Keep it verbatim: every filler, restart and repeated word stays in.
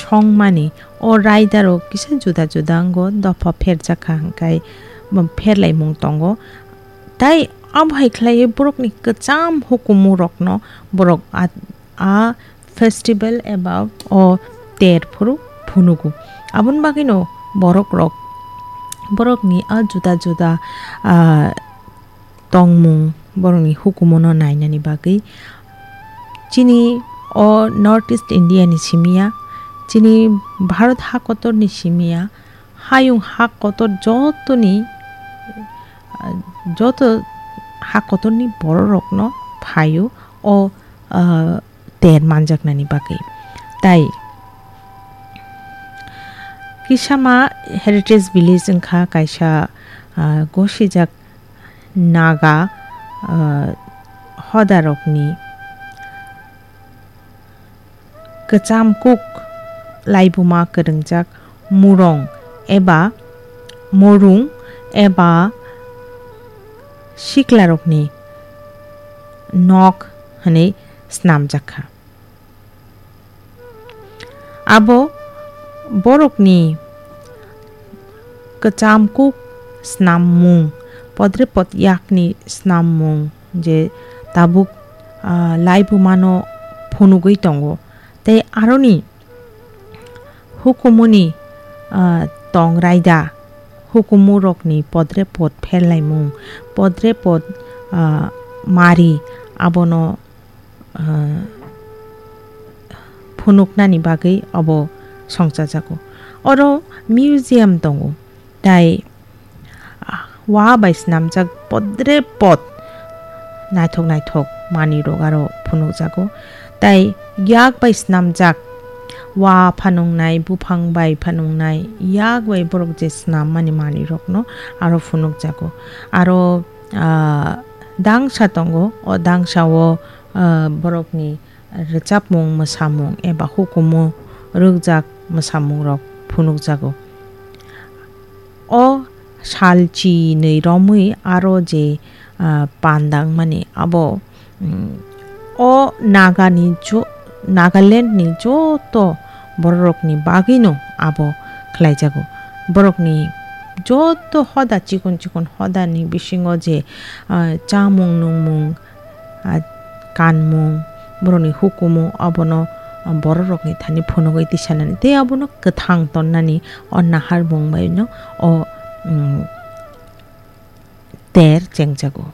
thongmani o raida rok kisa juda juda wngo, dopha pherjak kha hwnkhe bo pherlaimung tongo. Tai abo hai khlaiwi borokni kwcham hukumu rokno borok a, a festival eba o ter phuru phunugo. Aboni bagwino borok rok, borokni a juda juda, ah, tongmung, borokni hukumuno nainani bagwi chini o North East India ni simi ya, chini Bharat ha kotor ni simi ya, hayung ha kotor jotoni, ah, joto ha kotorni borok rokno phaio o, ah, ter manjaknani bagwi. Tai Kisama Heritage Village wngkha kaisa, ah, gosijak Naga, ah, hodarokni kwcham kuk laibuma kwrwngjak murong eba morung eba siklarokni nok hwnwi snamjak kha. Abo borokni kwcham kuk snammung, podre pod yakni snammung je tabuk, ah, laibumano phunugwi tongo. Tei aroni hukumuni, ah, tong raida, hukumurokni podre pod pherlaimung, podre pod, ah, mari abono ah, phunuknani bagwi obo songchajago. Oro museum tongo, tai, ah, wa bai swnamjak podre pod naithok naithok manwirok aro phunukjago. Tai yak bai swnamjak wa phanuknai, buphang bai phanuknai, yak bai borok je swnammani manwirokno aro phunukjago. Aro, ah, dangsa tongo, o dangsao ah, borokni rwchapmung, mwsamung eba hukumu rwkjak mwsamungrok phunukjago. O sal chinwi romwi aro je, ah, panda wngmani abo, mm, o Nagani jo-, Nagalandni joto bororokni bagwino abo khlaijago. Borokni joto hoda chikon chikon hodani bisingo je, ah, chamung nungmung, ah, kanmung, borokni hukumu, abono, ah, bororokni thani phunugwi tisanani tei abono kwthang tonnani o naharmung baino o, mm, ter chengjago.